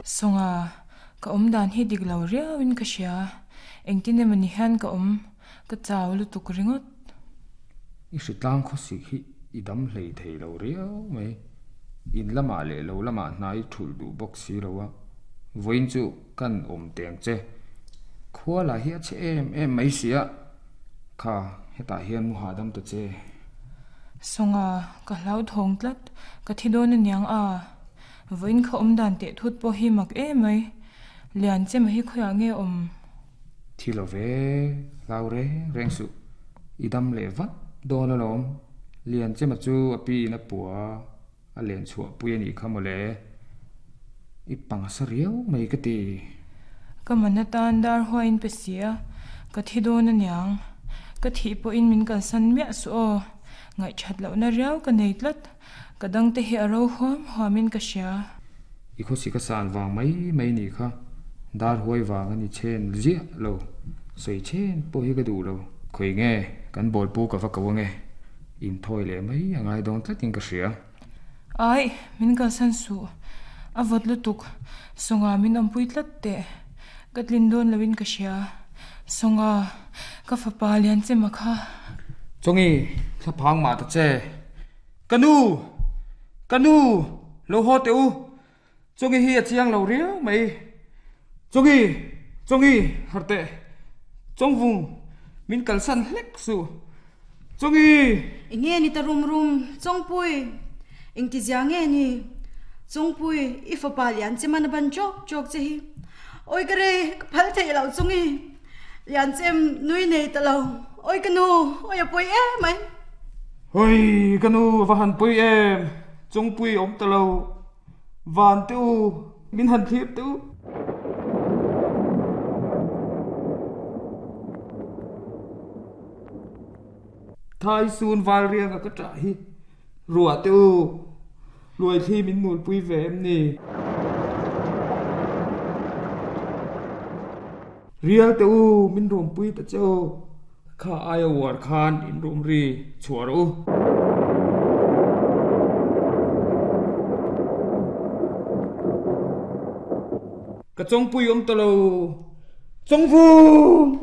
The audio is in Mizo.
Sawnga, ka awm dan hi dik lo riauin ka hria. Engtin emaw ni hian ka awm, ka chau lutuk ringawt. I hritlang khawsik hi i dam hlei thei lo riau mai. In lamah leh lo lamah hna i thulh duh bawk si lo a, vawiin chu kan awm teng che. Khua lah hi a chhe em em mai si a, kha hetah hian mu hahdam ta che. Sawnga, ka hlauthawng tlat, ka thi dawn aniang a. Vawiin kha awm dan teh thut pawh hi mak em mai. Lian chema hi khawiah nge awm? Thi lo ve, hlau reng reng suh. I dam leh vat dawn alawm. Lian chema chu a pi in a pua a len chhuah pui a nih kha mawle. I pangsa riau mai ka ti. Ka man atan dar huaiin pe si a, ka thi dawn aniang. Ka thih pawhin min kalsan miah suh aw. Ngaihthat lohna riau ka nei tlat. Ka dangte hi a ro huam huamin ka hria. I khawsik a san vang mai mai nih kha. Dar huai vang a ni chen ziah lo. Sawi chen pawh hi ka duh lo. Khawi nge kan bawlpu ka va ko ange. Inthawi leh mai a ngai dawn tlatin ka hria. Aih, min kalsan suh. A vawt lutuk. Sawnga min awmpui tlat teh. Ka tlin dawn loin ka hria. Sawnga, ka fapa Lianchema kha. Chawngi, thlaphang mah ta che. Ka nu! Ka nu! Lo haw teh u! Chawngi hi a chiang lo riau mai. Chawngi! Chawngi! Harh teh! Chawngvung! Min kalsan hlek suh! Chawngi! Eng nge ni ta rum rum? Chawngpui! Engtizia nge ni? Chawngpui, i fapa lian che man a ban chawk chawk che hi. Awi ka rei, ka phal theih loh Chawngi! Lian chem nui nei ta lo. Awi ka nu, awi a pawi em mai. Hawi ka nu a va han pawi em, chungpui awm ta lo. Van te u, min han thlir te u. Thai sun val rianga ka ṭah hi ruah te u, luaithli min nulpui ve em ni? Rial te u, min rumpui ta che u. Kha aia uar khan in rum ri chhuah rawh u. Ka chawngpui awm ta lo. Chawngvung!